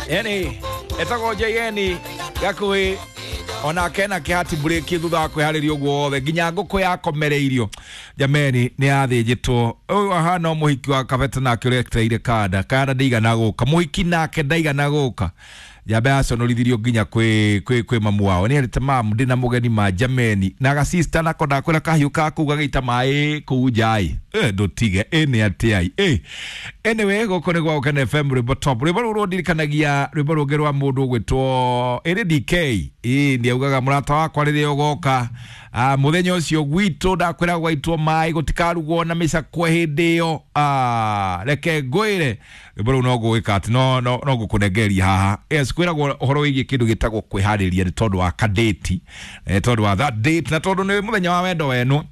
Yani etagwo JN gakuhi onake na kihati bureki thutha wa kwihariria uguo wothe nginya nguku yakomereirio jameni ni yathinjitwo uyu ahana muhiki wa kabete nake uria etereire kanda kanda ndigana guka muhiki nake ndaigana guka jambe aconorithirio nginya kwi kwi kwi mamu wao ni erite mamu ndina mugeni ma jameni na gasista nako ndakwira kahiu ka kuu gagita mai kuu njai ndutige ni atiai anyway guku ni gwa Gukena FM rwimbo top rwimbo ruru ndirikanagia rwimbo rungi rwa mundu ugwitwo iri DK ni augaga murata wakwa riria ugoka muthenya ucio gwitu ndakwira gwaitwo mai gutikarugwo na micakwe hindi iyo reke ngwire rwimbo ruu no ngwika ati no no no ngukunengeria haha. Yes, kwiragwo uhoro wigie kindu gitagwo kwihariria ni tondu wa kadeti tondu wa that date na tondu ni muthenya wa wendo wenu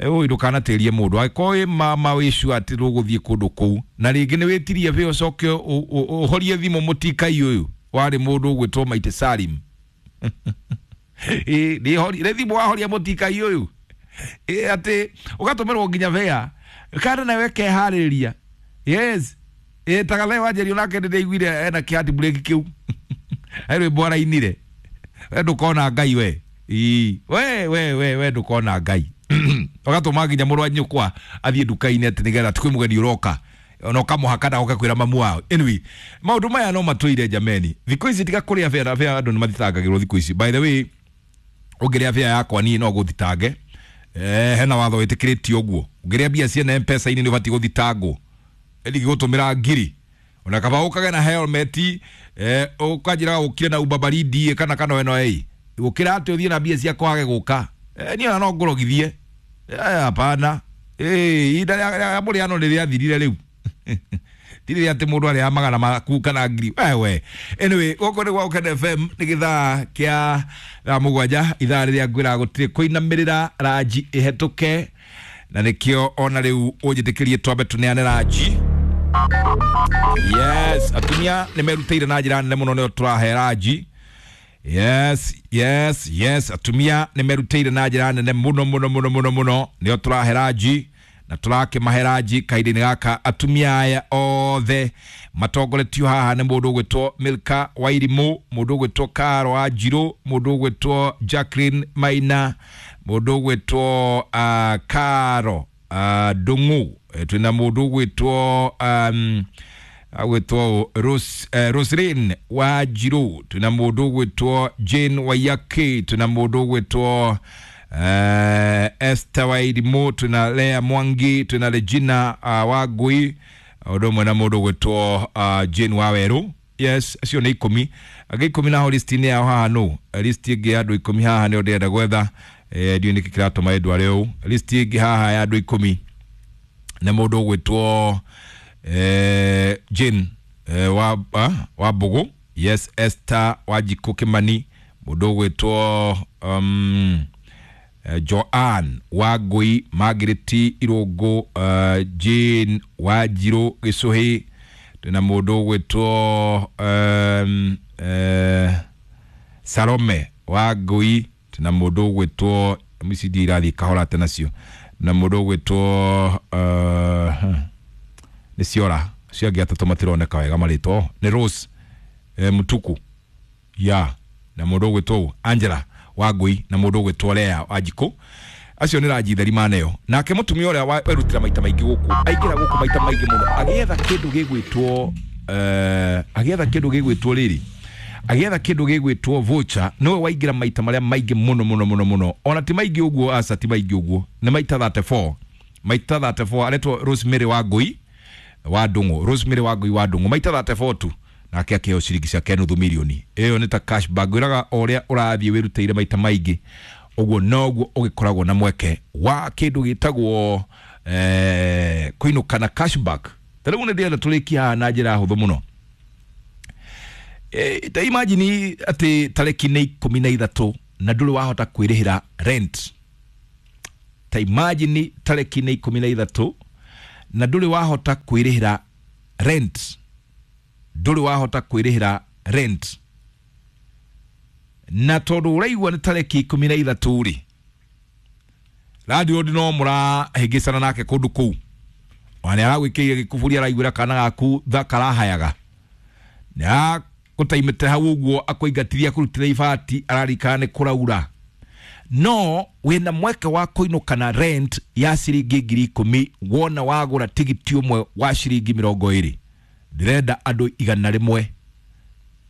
uyu ndukanatirie mundu angĩkorwo wĩ mama wĩcu atĩ rũgũthiĩ kũndũ kũu na rĩngĩ nĩ wĩtirie bĩ ũcoke ũhorie thimũ mũtikai ũyũ warĩ mũndũ ũgwĩtwo Maite Salim nĩ thimũ wahoria mũtikai ũyũ atĩ ũgatũmĩrwo nginya bea kana nawe keharĩria. Yes, tagathe wanjerio nake nĩndĩiguire ena kĩhati breki kĩu he rwĩmbo arainire we ndũkona Ngai we we we we we ndũkona Ngai ugatuma nginya mũrũ wa nyũkwa athiĩ nduka-inĩ atĩ nĩgetha ti kwĩ mũgeni ũroka ona ũkamũhaka ndagoke kwĩra mamu wao. Anyway, maũndũ maya no matũire jameni thikũ ici tiga kũrĩa bĩa bĩa andũ nĩ mathitangagĩrwo thikũ ici. By the way, ũngĩrĩa bĩa yakwa niĩ no gũthitange hena watho wĩtĩkĩrĩtio ũguo ũngĩrĩa mbia ciene M-Pesa-inĩ nĩ ũbatiĩ gũthitangwo ndigĩgũtũmĩra ngiri ona kaba ũkage na helmet ũkanjĩraga ũkire na uba baridi kana kana weno ĩ gũkĩra atĩ ũthiĩ na mbia ciakwa wage gũka niĩ ona no ngũrogithie hapana ihinda rĩa mũrĩano nĩ rĩathirire rĩu ti rĩrĩa atĩ mũndũ arĩaga magana maku kana ngiri wewe. Anyway, gũkũ nĩ gwa Gukena FM nĩ gĩthaa kĩa thaa 7 ithaa rĩrĩa ngwĩraga gũtirĩ kũinamĩrĩra ranji ĩhetũke na nĩkĩo ona rĩu ũnjĩtĩkĩrie twambe tũneane ranji. Yes, atumia nĩ merutĩire na njĩra nene mũno nĩo tũrahe ranji. Yes, yes, yes, atumia nĩ merutĩire na njĩra nene mũno mũno mũno mũno mũno nĩo tũrahe ranji na tũrakĩmahe ranji kahinda-inĩ gaka atumia aya othe matongoretio haha nĩ mũndũ ũgwĩtwo Milka Wairimũ, mũndũ ũgwĩtwo Karo Wanjirũ, mũndũ ũgwĩtwo Jacqueline Maina, mũndũ ũgwĩtwo Karo Ndung'u, twĩna mũndũ ũgwĩtwo agwĩtwo Roslyn Wanjirũ, twĩna mũndũ ũgwĩtwo Jane Waiyaki, twĩna mũndũ ũgwĩtwo Esther Wairimũ, twĩna Lea Mwangi, twĩna Regina Wangui, ũndũ ũmwe na mũndũ ũgwĩtwo Jane Wawerũ. Yes, acio nĩ 10 angĩ 10 naho listi-inĩ yao haha nũ listi ĩngĩ ya andũ 10 haha nĩo ndĩrenda gwetha ndiũĩ nĩkĩ kĩratũma ĩndware ũũ listi ĩngĩ haha ya andũ 10 na mũndũ ũgwĩtwo Jane wa Mbũgũ. Yes, Esther Wanjikũ Kimani, mũndũ ũgwĩtwo Joanne Wangui, Margaret Irũngũ, Jane Wanjirũ Gĩcũhĩ, twĩna mũndũ ũgwĩtwo Salome Wangui, twĩna mũndũ ũgwĩtwo ici ndiĩ irathiĩ kahora atĩ nacio, na mũndũ ũgwĩtwo nĩ ciora acio angĩ atatũ matironeka wega marĩtwa nĩ Rose Mutuku ya na mũndũ ũgwĩtwo Angela Wangui na mũndũ ũgwĩtwo Lea Wanjikũ. Acio nĩ ranji theri maneo nake mũtumia ũrĩa werutĩra maita maingĩ gũkũ aingĩra gũkũ maita maingĩ mũno agĩetha kĩndũ gĩgwĩtwo agĩetha kĩndũ gĩgwĩtwo rĩrĩ agĩetha kĩndũ gĩgwĩtwo voucher nĩwe waingĩra maita marĩa maingĩ mũno mũno mũno mũno ona ti maingĩ ũguo aca ti maingĩ ũguo nĩ maita 34 maita 34 aretwo Rosemary Wangui wa Ndung'u, Rosemary Wangui wa Ndung'u maita 34 tu nake akĩheo ciringi ciake nuthu milioni ĩyo nĩ ta cashback ngwĩraga o ũrĩa ũrathiĩ wĩrutĩire maita maingĩ ũguo noguo ũgĩkoragwo na mweke wa kĩndũ gĩtagwo kũinũka na cashback. Ta rĩu nĩ ndĩrenda tũrĩkie haha na njĩra hũthũ mũno. Ta imagine atĩ tarĩki nĩ 13 na ndũrĩ wahota kwĩrĩhĩra rent. Ta imagine tarĩki nĩ 13 na ndũrĩ wahota kwĩrĩhĩra rent, ndũrĩ wahota kwĩrĩhĩra rent na tondũ ũraigua nĩ tarĩki 13 rĩ landlord no mũrahĩngĩcana nake kũndũ kũu ona nĩ aragwĩkĩire gĩkuburi araiguĩra kana gaku thakarahayaga nĩ Gũtaimĩte hau ũguo akũingatithia akũrutĩre ibati ararikana nĩ kũraura. No wĩna mweke wa kũinũka na rent ya ciringi 10,000 wona wagũra tigiti ũmwe wa ciringi 20. Ndĩrenda andũ 100.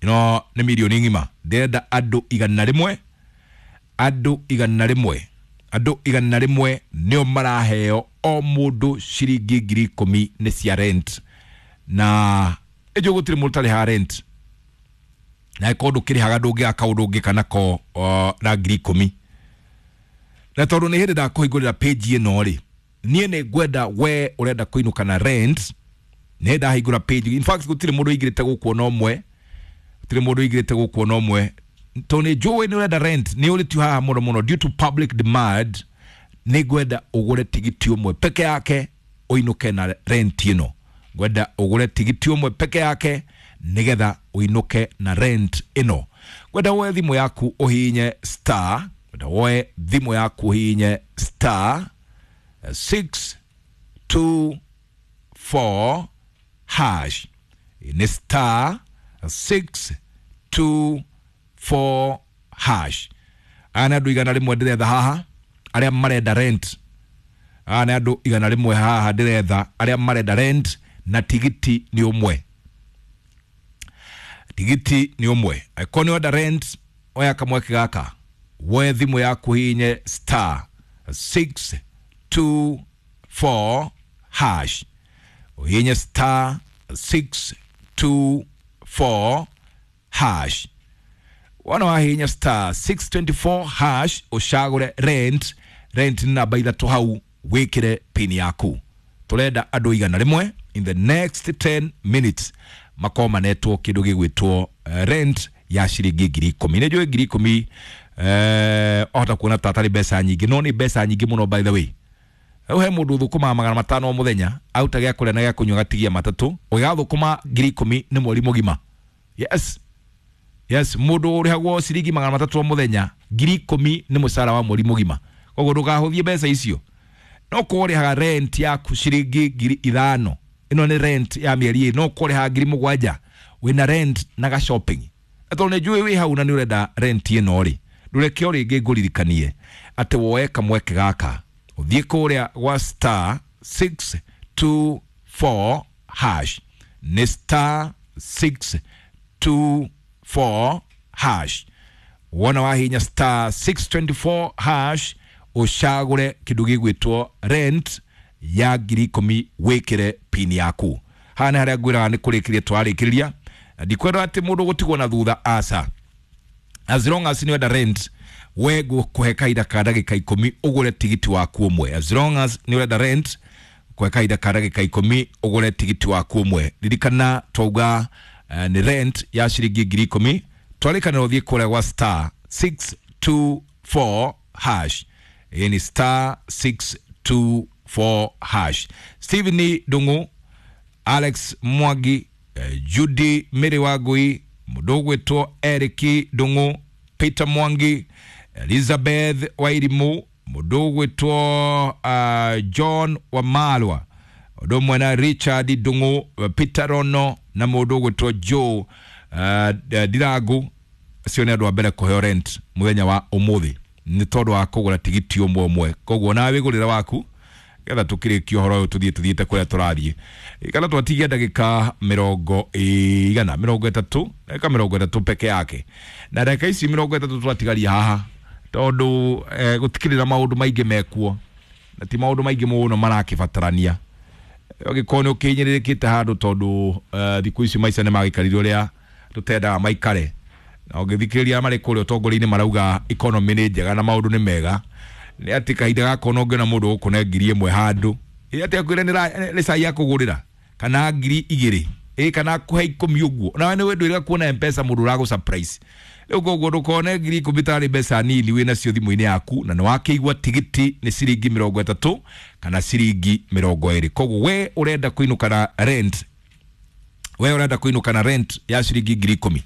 Ĩno nĩ mirioni ng'ima. Ndĩrenda andũ 100. Andũ 100. Andũ 100 nĩo maraheo o mũndũ ciringi 10,000 nĩ cia rent. Na ĩnjũ gũtirĩ mũndũ ũtarĩhaga rent. Na ĩkorwo ndũkĩrĩhaga ndũngĩaka ũndũ ũngĩka nako na 10,000. Na tondũ nĩ hĩndĩ ndakũhingũrĩra page ĩno rĩ, niĩ nĩ ngwenda we ũrenda kũinũka na rent, nĩ ndahingũra page. In fact gũtirĩ mũndũ ũingĩrĩte gũkũ ona ũmwe. Gũtirĩ mũndũ ũingĩrĩte gũkũ ona ũmwe. Tondũ nĩ njũĩ nĩ ũrenda rent, nĩ ũrĩtio haha mũno mũno due to public demand, nĩ ngwenda ũgũre tigiti ũmwe peke yake ũinũke na rent ĩno. Ngwenda ũgũre tigiti ũmwe peke yake nĩgetha ũinũke na rent ĩno. Ngwenda woe thimũ yaku ũhihinye star, ngwenda woe thimũ yaku ũhihinye star 6 2 4 hash. Nĩ star 6 2 4 hash. Aya nĩ andũ 100 ndĩretha haha arĩa marenda rent. Aya nĩ andũ 100 haha ndĩretha arĩa marenda rent na tigiti nĩ ũmwe. Tigiti nĩ ũmwe. Angĩkorwo nĩ ũrenda rent, oya kamweke gaka. Woe thimũ yaku hihinye star 6 2 4 hash. Ũhihinye star 6 2 4 hash. Wona wahihinya star 624 hash ũcagũre rent. Rent nĩ namba 3 hau wĩkĩre pin yaku. Tũrenda andũ 100 in the next 10 minutes makorwo manetwo kĩndũ gĩgwĩtwo rent ya ciringi 10,000. Nĩ njũĩ 10,000 ohota kuona ta atarĩ mbeca nyingĩ, no nĩ mbeca nyingĩ mũno by the way. Rĩu he mũndũ ũthũkũmaga 500 o mũthenya, aruta gĩa kũrĩa na gĩa kũnyua gatigia 3, ũgĩgathũkũma 10,000 nĩ mweri mũgima. Yes. Yes, mũndũ ũrĩhagwo ciringi 300 o mũthenya, 10,000 nĩ mũcara wa mweri mũgima. Koguo ndũkahũthie mbeca icio. No korwo ũrĩhaga rent yaku ciringi 5,000, ĩno nĩ rent ya mĩeri ĩrĩ, no korwo ũrĩhaga 7,000, wĩna rent na ga shopping. Na tondũ nĩ njũĩ wĩ hau na nĩ ũrenda rent ĩno rĩ, ndũreke o rĩngĩ ngũririkanie atĩ woe kamweke gaka, ũthiĩ kũrĩa gwa star 6 2 4 hash. Nĩ star 6 2 4 hash. Wona wahinya star 624 hash ũcagũre kĩndũ gĩgwĩtwo rent ya 10,000 wĩkĩre pin yaku. Haha nĩ harĩa ngwĩraga nĩ kũrĩkĩrĩria twarĩkĩrĩria. Na ndikwenda atĩ mũndũ gũtigwo na thutha, aca. As long as nĩ wenda rent, we ngũkũhe kahinda ka ndagĩka 10 ũgũre tigiti waku ũmwe. As long as nĩ ũrenda rent, ngũkũhe kahinda ka ndagĩka 10 ũgũre tigiti waku ũmwe. Ririkana twauga nĩ rent ya ciringi 10,000. Twarĩkanĩra ũthiĩ kũrĩa gwa star 6 2 4 hash. Ĩĩ ni star 6 2 4 hash. Stephen Ndung'u, Alex Mwangi, Judy Mary Wangui, mũndũ ũgwĩtwo Eric Ndung'u, Peter Mwangi, Elizabeth Wairimu, mũndũ ũgwĩtwo John Wamalwa, ũndũ ũmwe na Richard Ndung'u, Peter Rono na mũndũ ũgwĩtwo Joe Ndirangu. Acio nĩ andũ a mbere kũheo rent mũthenya wa ũmũthĩ nĩ tondũ wa kũgũra tigiti ũmwe ũmwe. Koguo nawe wĩgũrĩre waku getha tũkĩrĩkie ũhoro ũyũ tũthiĩ tũthiĩte kũrĩa tũrathiĩ. Kana twatigia ndagĩka 130, ndagĩka 30 peke yake. Na ndagĩka ici 30 twatigaria haha tondũ gũtikĩrĩ na maũndũ maingĩ mekuo, na ti maũndũ maingĩ mũno marakĩbatarania. Ũngĩkorwo nĩ ũkĩhinyĩrĩrĩkĩte handũ tondũ thikũ ici maica nĩ magĩikarire ũrĩa tũtendaga maikare, na ũngĩthikĩrĩria marĩ kũrĩa ũtongoria-inĩ marauga economy nĩ njega na maũndũ nĩ mega, nĩ atĩ kahinda gaka ona ũngĩona mũndũ ũgũkũne 1,000 handũ, ĩ atĩ akwĩre nĩ cai akũgũrĩra kana 2,000, ĩ kana akũhe 10 ũguo, nawe nĩ wendwo kuona M-Pesa mũndũ ũragũ surprise. Rĩu koguo ndũkone 10,000 tarĩ mbeca nini wĩ nacio thimũ-inĩ yaku, na nĩ wakĩigua tigiti nĩ ciringi 30 kana ciringi 20. Koguo we ũrenda kũinũka na rent, we ũrenda kũinũka na rent ya ciringi 10,000,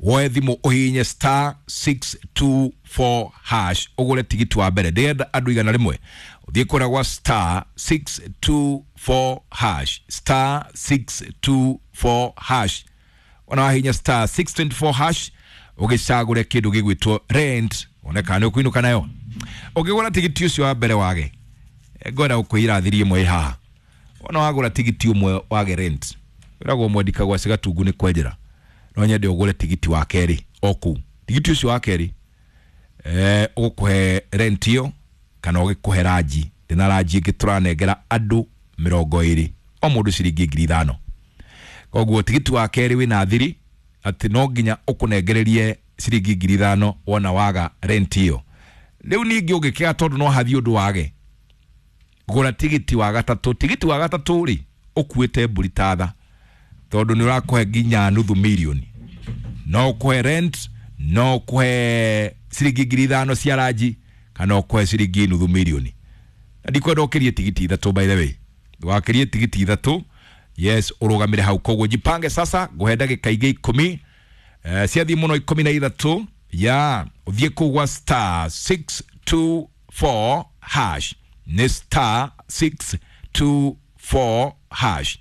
woe thimũ ũhihinye star 624 hash ũgũre tigiti wa mbere. Ndĩrenda andũ 100 ũthiĩ kũrĩa gwa star 624 hash, star 624 hash. Wona wahinya star 624 hash ũgĩcagũre kĩndũ gĩgwĩtwo rent one kana nĩ ũkũinũka nayo. Ũngĩgũra tigiti ũcio wa mbere wage, ngwenda gũkwĩra thiri ĩmwe ĩ haha. Wona wagũra tigiti ũmwe wage rent, wĩragwo mwendika gwa cigatungu nĩ kwenjera. No nyende ũgũre tigiti wa kerĩ o kũu. Tigiti ũcio wa kerĩ ũgũkũhe rent ĩyo kana ũgĩkũhe ranji. Ndĩna ranji ĩngĩ tũranengera andũ 20, o mũndũ ciringi 5,000. Koguo tigiti wa kerĩ wĩna thiri atĩ no nginya ũkũnengererie ciringi 5,000 wona waga rent ĩyo. Rĩu ningĩ ũngĩkĩaga tondũ no hathiĩ ũndũ wage, gũra tigiti wa gatatũ. Tigiti wa gatatũ rĩ ũkuĩte mbũri ta tha, tondũ nĩ ũrakũhe nginya nuthu mirioni. No ũkũhe rent, no ũkũhe ciringi 5,000 cia ranji, kana ũkũhe ciringi nuthu mirioni. Na ndikwenda ũkĩrie tigiti 3 by the way. Ndũgakĩrie tigiti 3, yes, ũrũgamĩre hau. Koguo jipange sasa, ngũhe ndagĩka ingĩ 10, ciathiĩ mũno 13, ya ũthiĩ kũu gwa star 624 hash. Nĩ star 624 hash.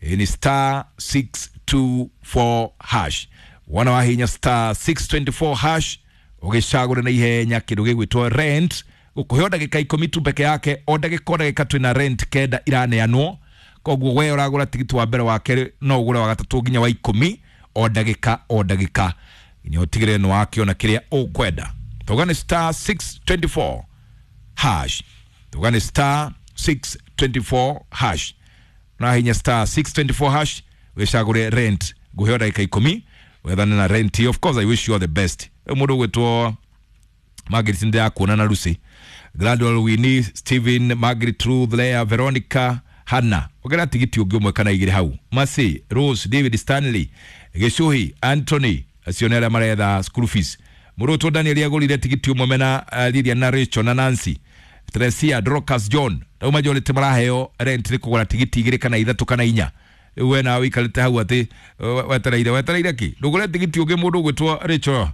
Ni star 624 hash. Wona wahinya star 624 hash ũgĩcagũre na ihenya kĩndũ gĩgwĩtwo rent. Gũkũhe o ndagĩka 10 tu peke yake, o ndagĩka o ndagĩka twĩna rent 9 iraneanwo. Koguo we ũragũra tigiti wa mbere, wa kerĩ, no ũgũre wa gatatũ nginya wa 10, o ndagĩka o ndagĩka nginya ũtigĩrĩre nĩ wakĩona kĩrĩa ũkwenda. Tuga nĩ star 624 hash. Tuga nĩ star 624 hash. Na hinya star 624 hash wĩcagũre rent. Ngũhe o ndagĩka 10 wethane na rent. Of course I wish you all the best. Mũndũ ũgwĩtwo Margaret ndĩrakuona na Lucy, Gladwell, Winnie, Steven, Margaret, Ruth, Leah, Veronica, Hannah. Ogera tigiti ũngĩ ũmwe kana igĩrĩ hau. Mercy, Rose, David, Stanley, Gĩcuhi, Anthony, acio nĩ arĩa maretha school fees. Mũndũ ũgwĩtwo Daniel agũrire tigiti ũmwe mena Lilian na Rachel na Nancy, Teresia, Dorcas, John. Rĩu majority maraheo rent nĩ kũgũra tigiti 2 kana 3 kana 4. Rĩu we nawe ũikarĩte hau atĩ wetereire kĩ? Ndũgũre tigiti ũngĩ mũndũ ũgwĩtwo Rachel,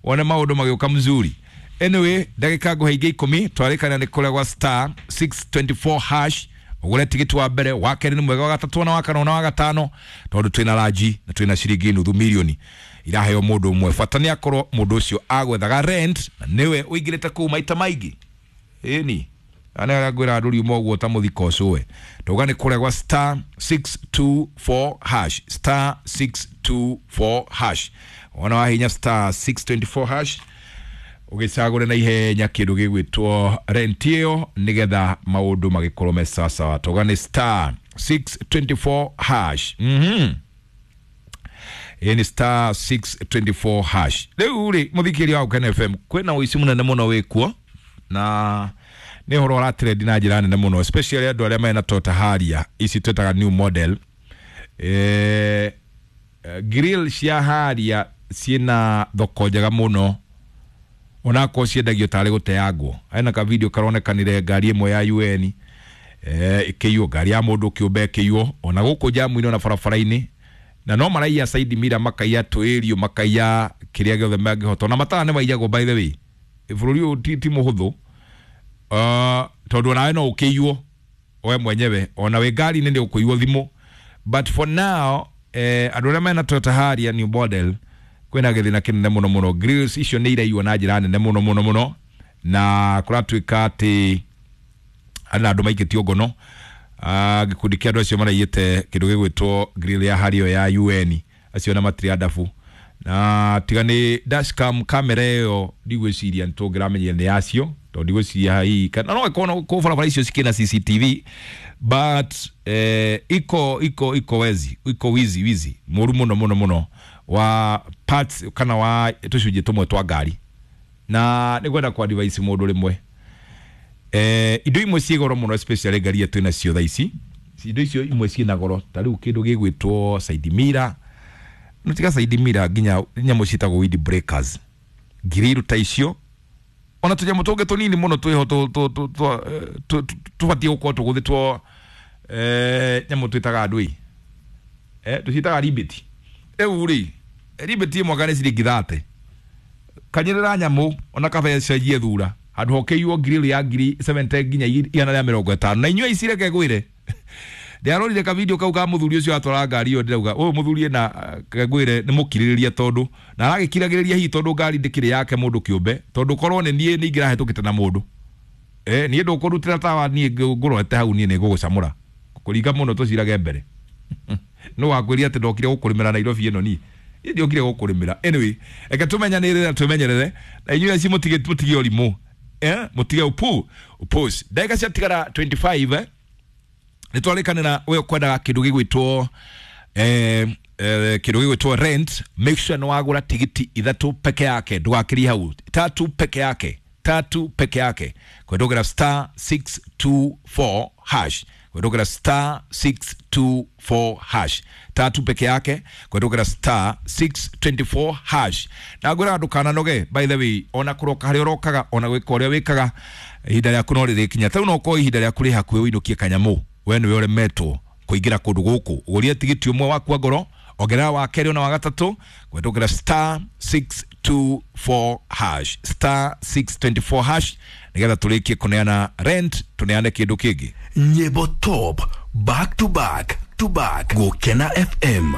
wone maũndũ magĩũka mzuri. Anyway, ndagĩka ngũhe ingĩ 10 twarĩkana nĩ kũrĩa gwa star 624 hash ũgũre tigiti wa mbere, wa kerĩ nĩ mwega, wa gatatũ na wa kana na wa gatano, tondũ twĩna ranji na twĩna ciringi nuthu mirioni iraheo mũndũ ũmwe. Bata nĩ akorwo mũndũ ũcio agwethaga rent na nĩwe ũingĩrĩte kũu maita maingĩ. Ĩni ana arĩa ngwĩra andũ riuma ũguo ta mũthiko ũcũwe. Ndauga nĩ kũrĩa gwa star 624 hash, star 624 hash. Wona wahinya star 624 hash ũgĩcagũre na ihenya kĩndũ gĩgwĩtwo rent ĩyo nĩgetha maũndũ magĩkorwo me sawasawa. Tauga nĩ star 624 hash. Ĩĩ nĩ star 624 hash. Rĩu rĩ mũthikĩria wa Gũkena FM, kwĩna ũici mũnene mũno wĩkuo na nĩ ũhoro ũratrendi na njĩra nene mũno, especially andũ arĩa mena Toyota Harrier ici twĩtaga new model. Grill cia Harrier ciĩna thoko njega mũno, onakorwo ciendagio tarĩ gũteangwo. Hena ka video karonekanire ngari ĩmwe ya UN ĩkĩiywo, ngari ya mũndũ kĩũmbe ĩkĩiywo ona gũkũ jamu-inĩ ona barabara-inĩ, na no maraiya side mirror, makaiya tũĩrio, makaiya kĩrĩa gĩothe mangĩhota. Ona matara nĩ maiyagwo by the way. Bũrũri ũyũ ti mũhũthũ, tondũ onawe no ũkĩiywo we mwenyewe, ona wĩ ngari-inĩ nĩ ũkũiywo thimũ. But for now andũ arĩa mena Toyota Harrier new model kwĩna gĩthĩna kĩnene mũno mũno. Grills icio nĩ iraiywo na njĩra nene mũno mũno mũno, na kũratuĩka atĩ na andũ maikĩtio ngono. Gĩkundi kĩa andũ acio maraiyĩte kĩndũ gĩgwĩtwo grill ya Harrier ya UN, acio na matirĩ andabu. Na tiga nĩ dashcam kamera ĩyo ndigwĩciria nĩ tũngĩramenyire nĩ yacio, tondũ ndigwĩciria hihi kana no ĩkorwo kũu barabara icio cikĩna CCTV, but iko wezi, iko wizi mũru mũno mũno mũno wa parts kana wa tũcunjĩ tũmwe twa ngari. Na nĩ ngwenda kwa advice mũndũ rĩmwe, indo imwe ciĩ goro mũno, especially ngari iria twĩna cio thaa ici. Indo icio imwe ciĩna goro, ta rĩu kĩndũ gĩgwĩtwo side mirror, no tiga side mirror, nginya nyamũ ciĩtagwo wind breakers, grill ta icio, ona tũnyamũ tũngĩ tũnini mũno twĩho tũbatiĩ gũkorwo tũgũthĩtwo nyamũ twĩtaga andũ tũciĩtaga ribeti. Rĩu rĩ ribeti ĩmwe nĩ ciringi 30. Kanyerera nyamũ ona kaba cenjie thura handũ hokĩiywo grill ya ngiri 70 nginya 150. Na inyuĩ ici reke ngwĩre, Ndiarorire ka video kau ka muthuri ucio atwara ngari iyo, ndirauga uyu muthuri ena ngwire ni mukiririria tondu na aragikiragiriria hihi tondu ngari ndikiri yake mundu kiumbe, tondu korwo ni nie ni ingirahetukite na mundu nie ndukurutira tawa nie ngurorete hau nie ni ngugucamura kuringa muno tucirage mbere. No wakwiria ati ndokire gukurimira Nairobi ino ni ndiokire gukurimira. Anyway, eke tumenyanire na tumenyerere na inyuĩ aci mutige mutige ũrimũ, mutige upu upos. Ndagĩka ciatigara 25, nĩ twarĩkanĩra we ũkwendaga kĩndũ gĩgwĩtwo kĩndũ gĩgwĩtwo rent, make sure nĩ wagũra tigiti ithatũ peke yake, ndũgakĩrie hau, tatu peke yake, tatu peke yake, kwendũgĩra star 624 hash, kwendũgĩra star 624 hash, tatu peke yake, kwendũgĩra star 624 hash. Na ngwĩraga ndũkananoge, by the way, ona kũroka harĩa ũrokaga, ona gwĩka ũrĩa wĩkaga, ihinda rĩaku no rĩrĩkinya. Tarĩu no ũkorwo ihinda rĩaku rĩ hakuhĩ ũinũkie kanyamũ, we nĩwe ũremetwo kũingĩra kũndũ gũkũ, ũgũrie tigiti ũmwe wakua ngoro, ongerera wa kerĩ ona wa gatatũ, kwendũgĩra star 624 hash, star 624 hash, nĩgetha tũrĩkie kũneana rent, tũneane kĩndũ kĩngĩ. Nyimbo top back to back to back. Gukena FM.